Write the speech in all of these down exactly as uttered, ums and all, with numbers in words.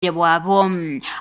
Bwabo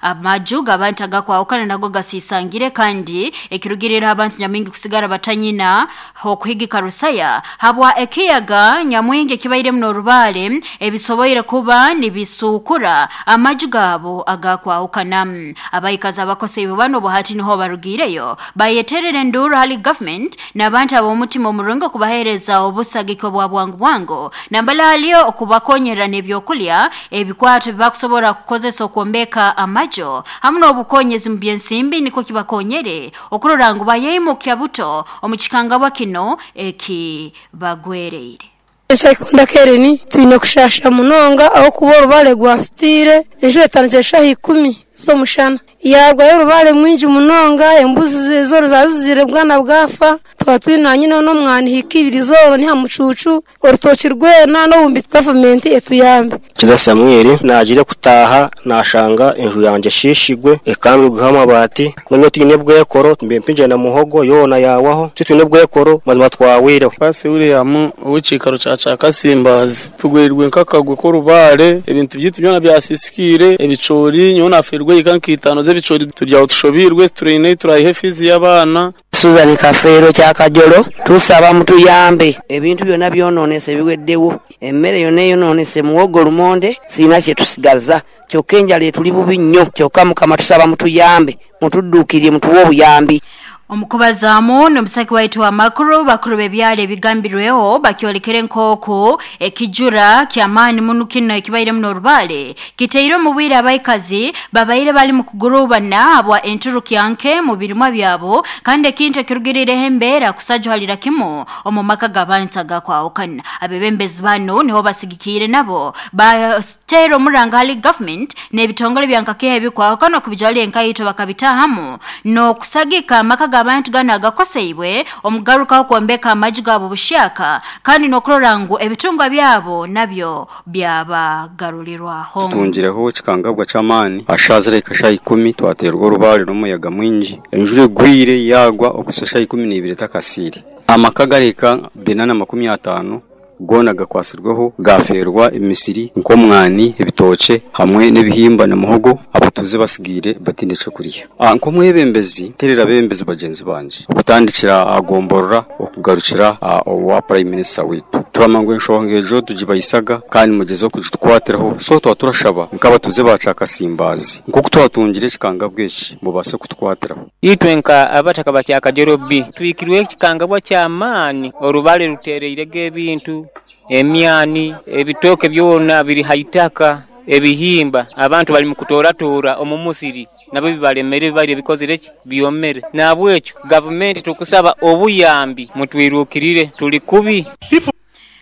amaju g'abantu agakwahukana nago gasisangire kandi ekirugirira abantu nyamwingi kusigara batanyina okuhigika rusaya habwa ekiyaga nyamwingi ekibaire muno orubale ebisoboire kuba nibisukura amaju gabo agakwahukana. Abaikazi abakose ibubano buhati niho barugireyo bayeterere enduru hali government n'abantu ab'omutima omurungi okubahereza obusagiko bwa bwangu bwangu nambala haliyo okubakonyera n'ebyokulya ebikwato bibakusobora kukozesa okwombeka amajo hamu n'obukonyezi mu byensimbi niko kibakonyere okurora ngu bayeyimukya buto omu kikangabwa kino ekibagwereire. Ekyakunda kereni twine kushasha munonga aho kuba orubale gwafutire enjura etandikire shaha ikumi z'omushana yarwayo orubale mwingi munonga embuzi zoro zazizire bwana bwafa twaba twine nyine n'omwana hika ibiri zoro ni hamucucu orutoki rwena n'obumbi gavumenti etuyambe. Kiza Samuel nagire kutaha nashanga enju yanje shishigwe ekambwe guha amabati none twine bwekoro mbempinje na muhogo yona yawaho twine bwekoro mazima twawireho. Pasi William uw'ikikaro ca ca Kasimbazi tugwirirwe nkakagwe ko rubare ebintu byitu byona byasisikire ebicori nyona afirwe ikankitano z'ebicori turyaho tushobirwe turine turayihe fizi y'abana. Susan Kafeero kya Kajolo tusaba mutuyambe ebintu byonna byononese biweddewo emmere yonna eyononese muwogo lumonde sirina kye tusigaza kyokka enjala etuli bubi nnyo kyokka Mukama tusaba mutuyambe mutudduukirire mutuwe obuyambi. Omukubazaamu n'omusaki waitu wa makuru bakuru b'ebyalo ebigambirweho bakyolekere nk'oku ekijura ky'amaani muno kino ekibaire muno orubale kiteire omu bwire abaikazi babaire bali mu kugurubana habwa enturukya nke mu birimwa byabo kandi ekintu ekirugirireho embeera kusajuhalira kimu omu maka g'abantu agakwahukana. Abebembezi bano niho basigikiire nabo bateera omuranga hali government n'ebitongole byankakeha ebikwahukana okubijwalira enkaito bakabitahamu n'okusagika amaka abantu gano agakoseibwe omugarukaho kwombeka amaju gabo bushaka kandi n'okurora ngu ebitungwa byabo nabyo byabagarulirwaho. Tutungireho kikangabwa ky'amaani ashazire kasha ikumi twaterwa orubare n'omuyaga mwingi enjura egwire yagwa okusasha ikumi n'ibiri takasiri amaka gareka binana makumi atano gona gakwasirweho gaferwa emisiri nkomwani ebitoke hamwe n'ebihimba na muhogo abatuze basigire batinde cyo kuriya. Nkomwebembezi terera bembezi bagenzi banje okutandikira agomborora okugarukira owa prime minister witu turamangwe enshonga ejo tugibayisaga kandi mugezo kujitwatiraho so twaturashaba nk'abatuze baca Kasimbazi nko twatungire kikangabwe eki mubase kutwatiraho. Itwe nka abataka bakya Kajoro B twikirwe kikangabwa ky'amaani orubale rutereirege ebintu emyani ebitoke byona biri haitaka ebihimba abantu bali mukutoratora omumusiri nabo bibalemere bali bikozire ki byomere nabwekyo government tukusaba obuyambi mutwirukirire tuli kubi.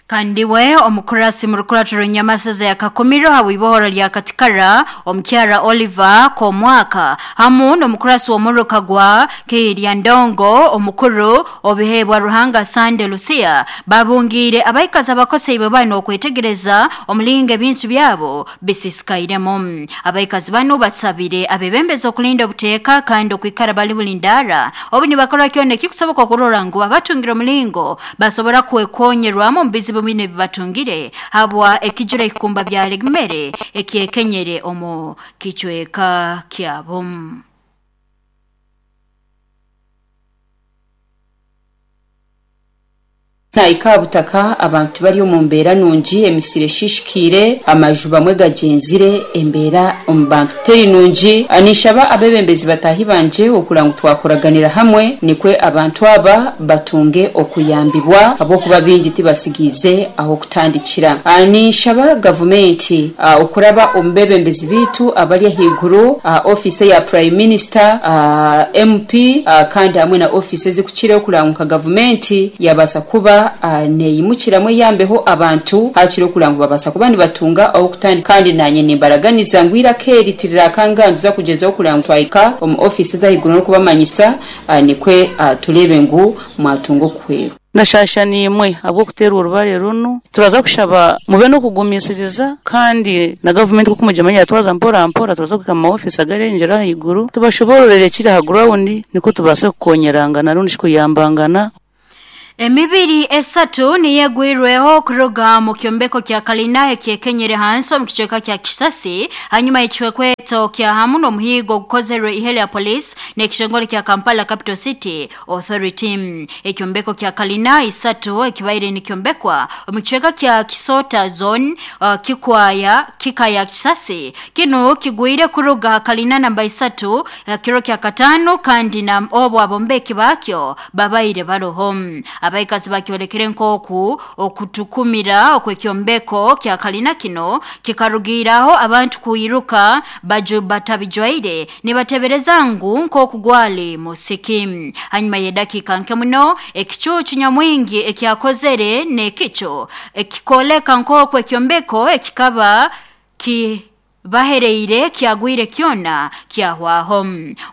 Kandiwe omukurasi murukuraturo nyamasaza ya Kakumiro hawibohora lya Katikara omukyara Oliver Komwaka hamu n'omukurasi w'omuruka gwa Kirya Ndongo omukuru obihebwa Ruhanga Sande Lucia babungire abaikazi abakose bano okwetegereza omulinga ebintu byabo bisisikairemo. Abaikazi bano batsabire abebembezi okulinda obuteeka kandi okwikara bali bulindara obu nibakora kyona kikusoboka okurora ngu abatungira omulingo basobora kwekonyerwamu mu bizibu bine bibatungire habwa ekijura ekikumba bya legmere ekyekenyere omu kichweka kyabo. Na ikabutaka abantu bari mu mbera nungi emisire shishikire amaju bamwe gagenzire embera omu bantu teri nungi anishaba abebembezi batahi banje okurangu twakoraganira hamwe nikwe abantu aba batunge okuyambibwa abokuba bingi tibasigize aho kutandikira. Anishaba gavumenti uh, okuraba ombebembezi bitu abali higuru uh, office ya prime minister uh, M P uh, kandi hamwe na office zikukire okuranguka gavumenti yabasa kuba Uh, neyimukiramwe yambeho abantu hakiro kulangu babasa kuba nibatunga aho kutandika kandi nanye nimbaraganiza ngwira keri tirira kanganduza kugeza okulangu twaika omu office za higuru no kubamanyisa uh, nikwe uh, tulebe ngu mwatungo kwero Nashasha nimwe abo kutera urubare runo turaza kushaba mube no kugumisiriza kandi na government ko kumujamanya twaza mpora mpora turaza kuka ma office agarengera higuru tubashobororere kiri ha ground niko tubase kukonyerangana rundi kuyambangana. Emibiri esatu niyegwirweho kuruga mu kyombeko kya kalina ekyekenyere hansi omu kicweka kya Kisasi hanyuma y'ekikwekweto kya hamu n'omuhigo gukozerwe ihele ya police n'ekitongole kya Kampala Capital City Authority. Ekyombeko kya kalina isatu ekibaire nikyombekwa omu kicweka kya Kisota Zone uh, kikwaya kikaya Kisasi kino kigwire kuruga kalina namba isatu uh, kiro kya katano kandi na obo abombeki bakyo babaire baroho. Abaikazi bakyolekere nkoku okutukumira okwekyombeko kya kalina kino kikarugiraho abantu kuiruka baju batabijwaire nibatebereza ngu nkoku gwali musiki. Hanyuma y'edakika nke muno ekicucu nyamwingi ekyakozere nekicho ekikoleka nkoku ekyombeko ekikaba ki bahereire kyagwire kyona kyahwaho.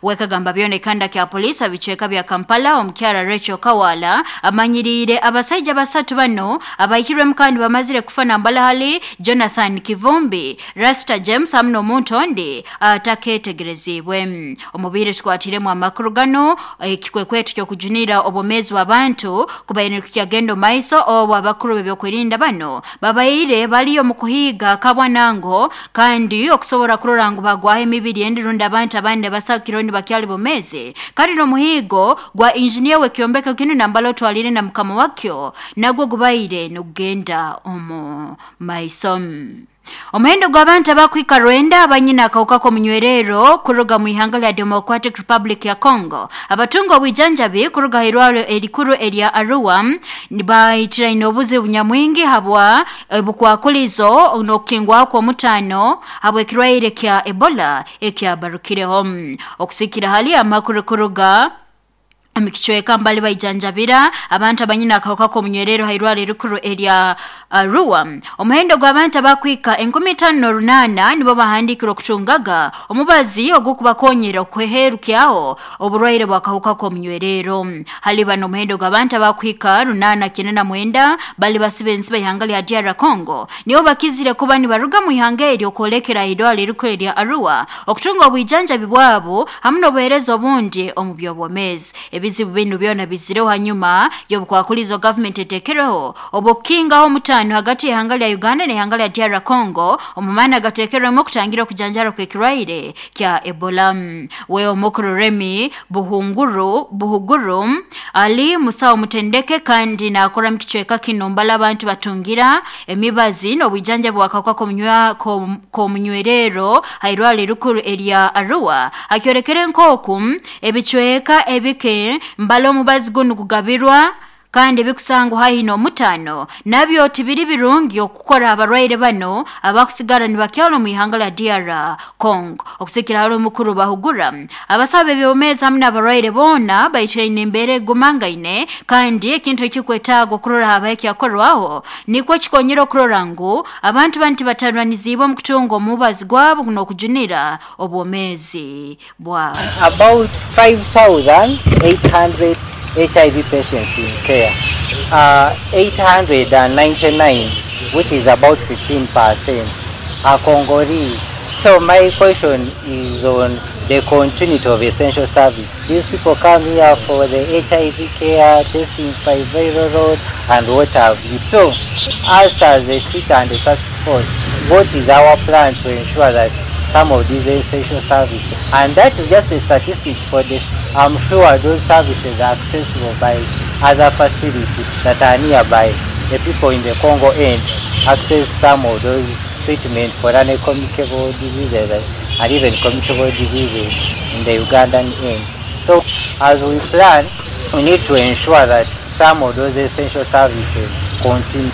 Wekagamba byone kanda kya polisi abichweka bya Kampala omukyara Rachel Kawala amanyirire abasajja basatu bano abayikirwe mukandi bamazire kufana mbalahali Jonathan Kivumbi, Rasta James hamwe n'omuntu ondi ataketegerezibwe. Omubiri tukwatiremu amakuru gano ekikwekweto kyokujunira obomezi w'abantu kubaire kukyagendo maiso obo abakuru bebyokwerinda bano babaire baliyo mu kuhiga kabwanango kandi okusobola kurora ngu bagwaho emibiri endirunda abantu abandi basakiro ndi bakyali bomeze kandi n'omuhigo gwa engineer wekyombeko kino nambalo twalire na mukama wakyo nagwo gubaire nugenda omu maiso. Omuhendo gw'abantu abakwika rwenda abanyina akawuka k'omunywerero kuruga mu ihanga lya Democratic Republic ya Congo abatunga obwijanjabi kuruga irwaro erikuru erya Arua nibayitiraine obuzibu nyamwingi habwa bukwakulizo n'okukingwaho kw'omutaano habw'ekirwaire kya Ebola ekyabarukireho. Okusikira hali amakuru kuruga amikichweka mbali baijanjabira abantu abanyina akawuka k'omunywerero hairwaro erikuru erya Arua. Omuhendo gw'abantu abakwika enkumi tano runana nibo bahandikirwe okutungaga omubazi ogukubakonyera okweherukyaho oburwaire bw'akawuka k'omunywerero. Hali bano omuhendo gw'abantu abakwika runana kyenda na mwenda bali basibe ensi b'ihanga lya D R Congo nibo bakizire kuba nibaruga mu ihanga eryo okwolekera irwaro erikuru erya Arua okutunga obwijanjabi bwabo hamwe n'obuheereza obundi omu by'obwomeezi. Ebizibu binu byona bizireho hanyuma y'obukwakulizo government etekereho obukingaho omutaano hagati y'ihanga lya Uganda n'ihanga lya D R Congo omumana gatekerwemu okutangira okujanjara kw'ekirwaire kya Ebola. We omukuru Remy Buhunguru Buhuguru ali musawo mutendeke kandi nakora mu kicweka kino mbala abantu batungira emibazi n'obwijanjabi bw'akawuka k'omunywerero hairwaro erikuru erya Arua akyorekere nkoku ebicweka ebike mbala omubazi guno gugabirwa kandi bikusangwa haihi n'omutaano nabyo tibiri birungi okukora abarwaire bano abakusigara nibakyalo mu ihanga lya D R Congo. Okusikira hali omukuru bahugura abasaba ebyomezi hamwe n'abarwaire boona baitiraine embeera egumangaine kandi ekintu ekikwetaaga okurora habaho ekyakorwaho nikwo kikonyera okurora ngu abantu banu tibatarwanizibwe omu kutunga omubazi gwabo n'okujunira obwomeezi bwabo. About five thousand eight hundred H I V patients in care, uh, eight hundred ninety-nine, which is about fifteen percent, are Congolese. So my question is on the continuity of essential service. These people come here for the H I V care, testing for viral load, and what have you. So, us as a city and a task force, what is our plan to ensure that some of these essential services, and that is just a statistics for this. I'm sure those services are accessible by other facilities that are nearby. The people in the Congo end access some of those treatment for non-communicable diseases and even communicable diseases in the Ugandan end. So as we plan, we need to ensure that some of those essential services continue.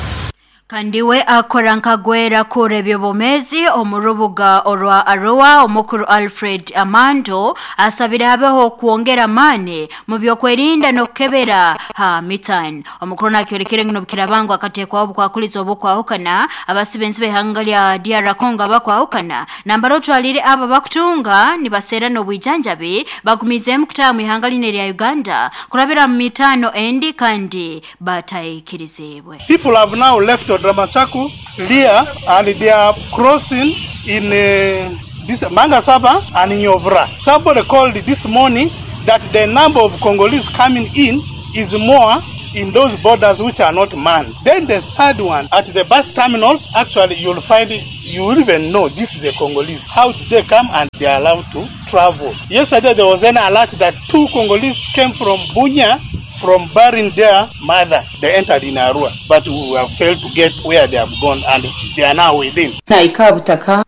Kandiwe akora nkagwera kure ebyobomezi omurubuga orwa Arua omukuru Alfred Amando asabira habeho kuongera mane mu byokwerinda n'okukebera ha mitan. Omukuru nakyorekere ngino bukirabangu akatekwaho bukwakuliza obukwahukana abasibenzi b'ihanga lya D R Congo abakwahukana nambaro twalire aba bakutunga nibasera n'obwijanjabi bagumizemu kutaha mu ihanga line lya Uganda kurabira mu mitano endi kandi batayikirizibwe. People have now left Dramachaku, Lia, and they are crossing in uh, this Mangasaba and in Nyovra. Somebody called this morning that the number of Congolese coming in is more in those borders which are not manned. Then the third one, at the bus terminals, actually you'll find it, you will even know this is a Congolese. How did they come and they are allowed to travel? Yesterday there was an alert that two Congolese came from Bunia, from burying their mother. They entered in Arua, but we have failed to get where they have gone and they are now within. Na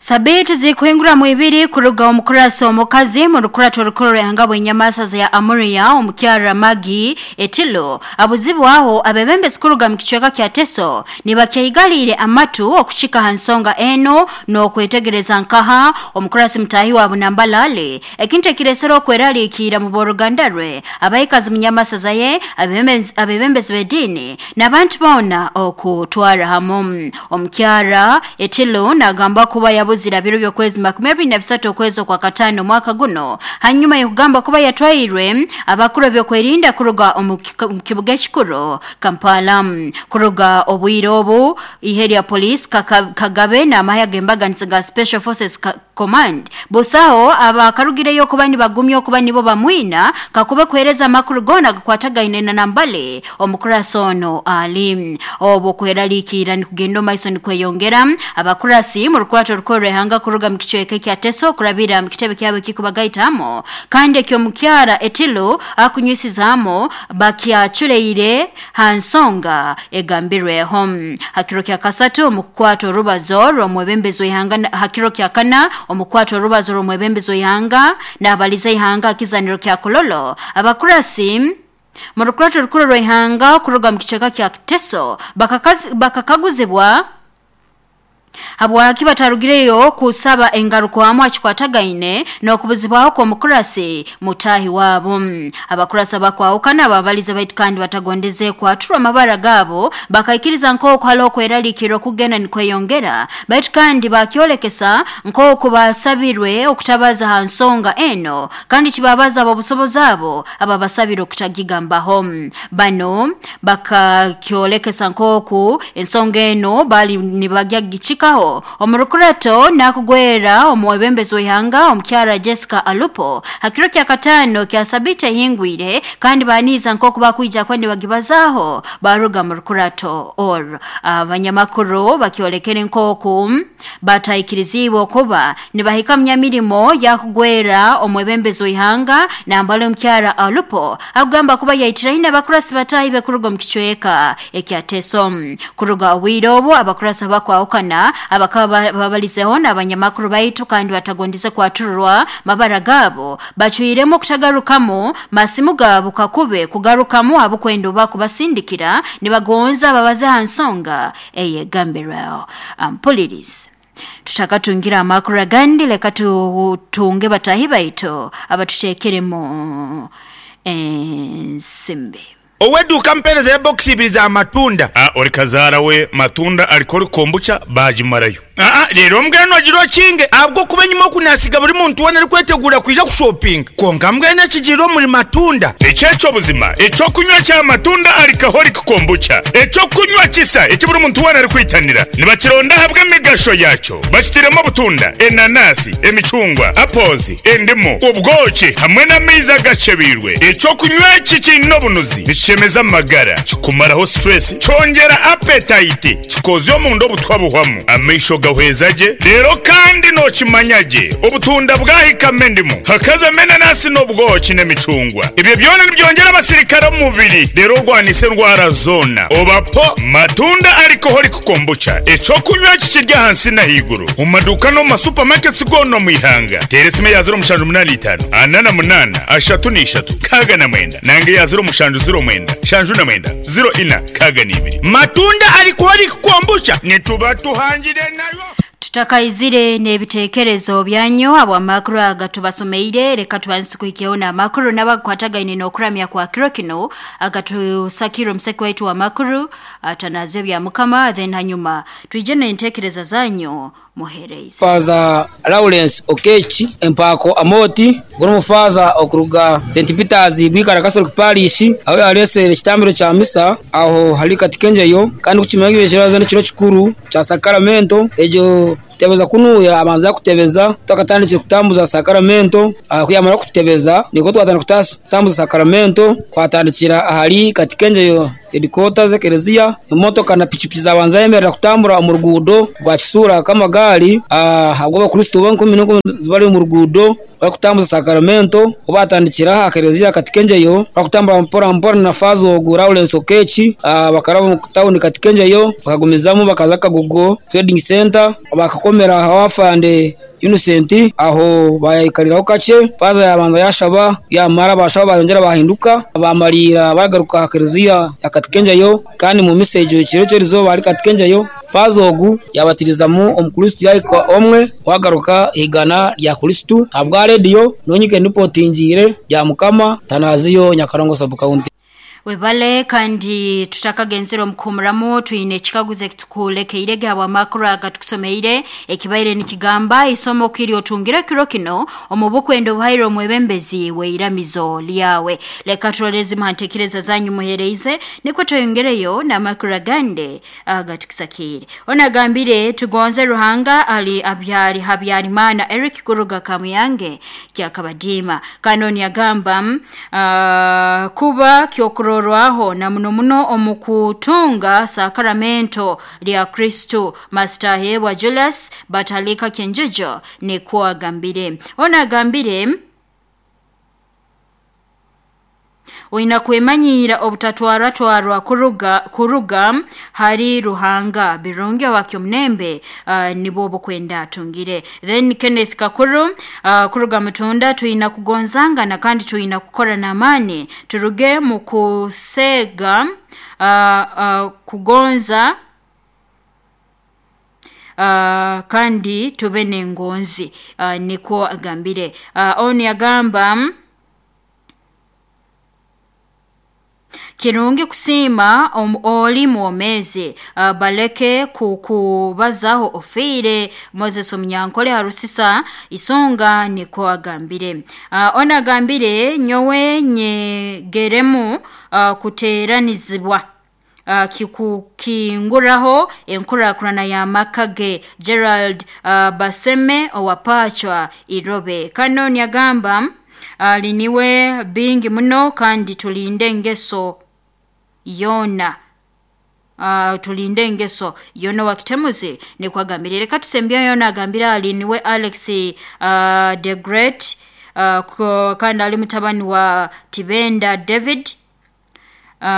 Sabiti zikuhingura mwibiri kuruga omukurasi omukazi mu rukurato rukuru rw'ihanga bw'enyamasaza ya Amuria omukyara Magi Etilo abuzibu aho abebembe sikuruga mu kicweka kya Teso nibakyeigaliire amatu okuchika hansonga eno n'okwetegereza nkaha omukurasi mutahi wa Bunambalale ekintu ekiresera okweraliikira mu boruganda rwe abaikazi mu nyamasaza ye abebembezi b'eddiini n'abantu boona okutwara hamu. Omukyara Etilo nagamba kuba yabu zira biro by'okwezi makumi abiri na bisatu okwezi kwa katano mwaka guno hanyuma y'okugamba kuba yatwairwe abakuru byokwerinda kuruga omu kibuga ekikuru Kampala. Kuruga obwire obu ihe lya police Kagabe n'amahya g'embaganiza ga Special Forces Command busaho abakarugireyo kuba nibagumya okuba nibo bamwina kakube kuhereza amakuru gona gakwatagaine na Nambale omukurasi ono ali obwo kweraliikira nikugenda maiso nikweyongera. Abakurasi mu rukurato rukuru rw'ihanga kuruga mu kicweka kya Teso kurabira mu kitebe kyabo kikubagaitamo kandi ekyo mukyara Etilo akunywisizaamo bakyachuleire hansonga egambirweho. Hakiro kya kasatu omukukwata orubazo rw'omwebembezi w'ihanga hakiro kya kana omukwata orubazo rw'omwebembezi w'ihanga n'abaliza ihanga akizaniro kya Kololo. Abakurasi mu rukurato rukuru rw'ihanga kuruga mu kicweka kya Teso bakakaguzibwa habwaki batarugireyo kusaba engaruko akikwatagaine n'okubuzibwaho kw'omukurasi mutahi wabo. Abakurasa bakwawukana ababaliza baitu kandi batagondeze kwaturwa amabara gabo bakaikiriza nk'oku haliho okweraliikirira okugenda nikweyongera baitu kandi bakyolekesa nk'oku basabirwe okutabaza ha nsonga eno kandi kibabaza abobusobozi abo ababasabire okutagigambaho. Bano bakakyolekesa nk'oku ensonga eno bali nibagya gichika omurukurato nakugwera omwebembezi w'ihanga omukyara Jessica Alupo hakiro kya katano kya sabite hingwire kandi baniza nk'oku bakwija kwandi bagibazaho baruga mu rukurato or abanyamakuru bakyolekere nk'oku bataikirizibwe okuba nibahika mnyamirimo yakugwera omwebembezi w'ihanga nambale omukyara Alupo agamba kuba yaitiraine abakurasi batahi bekuruga mu kicweka ekya Teso. Kuruga obwire obwo abakurasi bakwawukana abakaba babalizeho n'abanyamakuru baitu kandi batagondize kwatururwa mabara gabo bacwiremo kutagarukamo masimu gabo kakube kugarukamu abukwendo bakubasindikira nibagonza babaze hansonga eyegambirwao. Ampoliris tutakatungira amakuru agandi leka tutunge batahi baitu abatutekeremo ensimbi. Oweduka mpereza ya box ibiri za matunda. Ah, ori kazara we matunda alikori kombucha bajimarayo. Ah, rero mbweno agiro kinge abwo kuba nyuma kunasiga buri muntu wona ari kwetegura kwija kushopping. Konka mbwene kigiro muri matunda. Echecho buzima, echo kunywa cha matunda alcoholic kombucha. Echo kunywa kisa eki buri muntu wona ari kwitanira. Nibakironda habwe migasho yacho. Bakitiremo butunda, enanasi, emicungwa, apples, endimu, ubwoki hamwe n'amaizi agacebirwe. Echo kunywa iki kino bunuzi. Chemeza magara kikumaraho stress cyongera appetite kikozyo mu ndo butwabuhwamu amesho gahwezaje rero kandi no kimanyaje ubutunda bwahikame ndimo hakaza menanasi n'ubwoki n'emicungwa ibyo byona nibyongera abasirikare mu mubiri rero rwanise ndwara zona obapo matunda alcoholic kombucha eco kunywa kikirya hansi na higuru mu maduka no ma supermarkets gono mu ihanga teresime ya zero mushanju munani itanu anana munana ashatu n'ishatu kaga na mwenda nange ya zero mushanju zero mwenda shanju na mwenda zero ina kaga n'ibiri matunda alcoholic kombucha nituba tuhangire nayo. Tutakaizire n'ebitekerezo byanyu abo amakuru agatubasomeire reka tubanze kuhikeho n'amakuru n'abakwatagaine n'okuramya kwa kiro kino agatusakira omuseki waitu wa makuru atanazyo bya mukama then hanyuma twije n'entekereza zanyu muhereize. Faza Lawrence Okechi empako amoti guno mufaza okuruga Saint Peters bwikara Catholic Parish aho yaresere kitambiro cha misa aho hali katikenjeyo kandi kukimanyo kirazo n'ikiro kikuru cha sacramento ejo Kutebeza kunuya abanza kutebeza tukatandikira kutambuza sacramento. Kuyamara kutebeza niko twatandika kutambuza sacramento, kwatandikira ahali Katikenjeyo headquarters z'ekereziya. Emotoka na pichipichi zabanza yemerera kutambura omu ruguudo rwa Kisura k'amagaari. Ahabwo abakristo b'enkumi n'enkumi zibari omu ruguudo bakutambuza sacramento, obatandikira aha kereziya Katikenjeyo bakutambura mpora mpora na fazo ogu Lawrence Okechi. Bakaraba mu tawuni Katikenjeyo bakagumizamu bakaza Kagugo Trading Center, bakakomera hawafande Innocent, aho bayikariraho kace. Faza yabanza yashaba, yamara bashaba bayongera bahinduka bamarira bagaruka kereziya ya Katikenjeyo. Kandi mu message kiro cyerizo bari Katikenjeyo, faza ogu yabatirizamu omukristo yayiko omwe wagaruka igana lya Kristo abwa radio nonyike nipotingire ya Mukama Tanaziyo Nyakarongo sub county. Webale kandi tutakagenzero mkumramu tuine chikaguze kitukulekeire gawa makuru agatukusomeire ekibaire nikigamba isomo kiri otungira kiro kino omubukwendo buhairo mwebembezi weiramizo lyawe. Leka tulolezi mhantekereza zanyu muhereize niko toyongereyo na makuru agande agatukisakire. Ona gambire tugonze Ruhanga ali abyari Habyarimana Eric Kuruga Kamuyange kyakabadima. Kanoni yagamba uh, kuba kyokuro rwaho na muno muno omukutunga sakramento lya Kristo Master Hewa Julius Batalika Kenjejo ni kuwa gambire. Ona gambire Oina kwemanyira obutatwara twarwa kuruga kuruga hari Ruhanga birungi wakyo mnembe uh, nibo kwenda tungire. Then Kenneth Kakuru uh, kuruga mutunda tuina kugonzanga na kandi tuina kukora na amani turuge mu kusega uh, uh, kugonza Uh, kandi tube nengonzi uh, niko agambire. Uh, oni agamba kirungi kusima om, oli muomeze uh, baleke kukubazaho ofire Moses Omunyankole harusisa isonga niko agambire. Uh, ona agambire nyowe nyegeremu uh, kuteranizibwa Uh, kikukinguraho enkurakurana ya makage Gerald uh, Baseme owapachwa Irobe. Kanoni agamba uh, liniwe bingi muno kandi tulinde ngeso yona. Uh, tulinde ngeso yona wakitemuzi ni kwagambire. Reka tusembia yona agambira aliniwe Alex uh, the Great uh, kandi ali mutabani wa Tibenda David. Uh,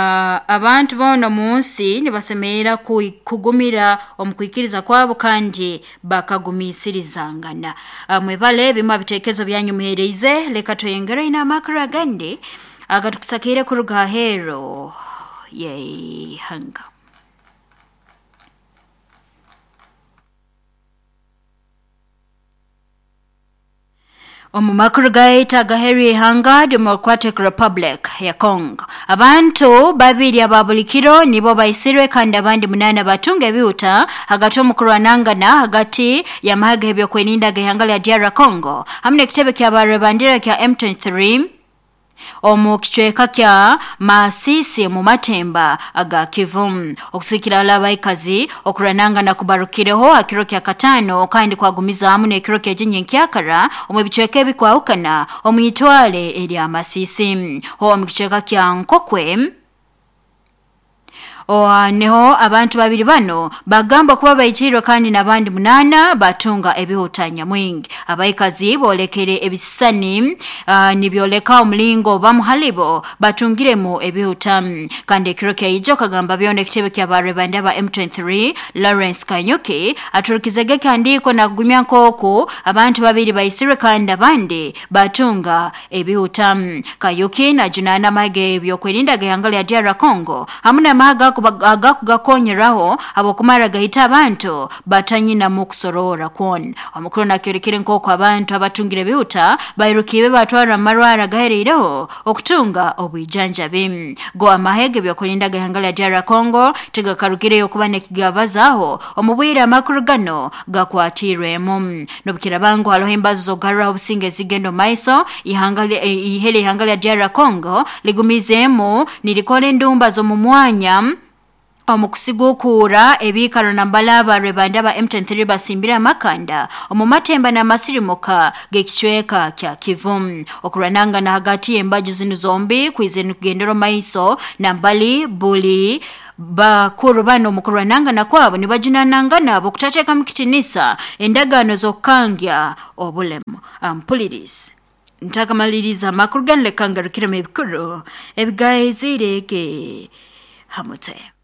abantu bono munsi nibasemerera kugumira omukwikiriza kwabo kandi bakagumisirizangana. Uh, mwebale bimwe bitekezo byanyu muhereize. Leka toyengere ina makuru agandi agatukusakire kuruga hero yei hanga. Omu makuru gaita gaheri hanga Democratic Republic ya Congo. Abantu babiri ababulikiro nibo baisirwe kandi abandi munana batunge biuta hagati omukurwanangana hagati ya mahaga ebyo kweninda gehanga lya D R Congo. Hamne kitebe kya barebandira kya M twenty-three omu kichweka kya Masisi mu Matemba aga Kivu. Okusikira alabaikazi okurananga na kubarukireho akiro kya katano kandi kwagumiza amu n'ekiro kya jinye nkyakara omu bichweka ebikwaukana omu itwale erya Masisi. Ho omu kichweka kya Nkokwe Oa neho abantu babiri bano bagamba kuba bayichirwe kandi nabandi munana batunga ebihutanya mwingi. Abaikazi bolekere ebisani uh, nibyoleka omulingo bamuhalibo batungiremu ebihuta. Kandi ekiro kya ijo kagamba byone ekitebe kya barebanda ba M twenty-three Lawrence Kanyuki aturukizege kandiko na kugumya nkoko abantu babiri bayisirwe kandi abandi batunga ebihuta. Kanyuki na junana mage byokwerinda gehangala ya D R Congo hamuna maga agakugakonyeraho abokumara gahita abantu batanyina mu kusorora kwon. Omukuru nakyorekere nkoko abantu abatungire bihuta bairukiwe batwara amarwara gahereireho okutunga obwijanjabi. Go amahege byokulinda gahangala ya D R Congo tegakarukireyo kuba nekigabazaho omubwira amakuru gano gakwatirwemu. Nobukira bangu haloho embazo zogarra obusinge zigendo maiso ihangale ihele ihangala ya D R Congo ligumizemu nilikole ndumba zo mu mwanya Omukusigukura ebikaro nambala rwebanda ba M twenty-three basimbira amakanda omu matemba n'amasirimuka g'ekicweka kya Kivu. Okurananga na hagati y'embaju zinu zombi kwizeni kugendera maiso nambali buli bakuru bano mukurwananga na kwabo nibajunananga nabo kutateka mukitinisa endagaano z'okukangya obulemu. Ampulirize ntakamaliriza amakuru ganle kangarukiremu ebikuru ebigaizirege hamute.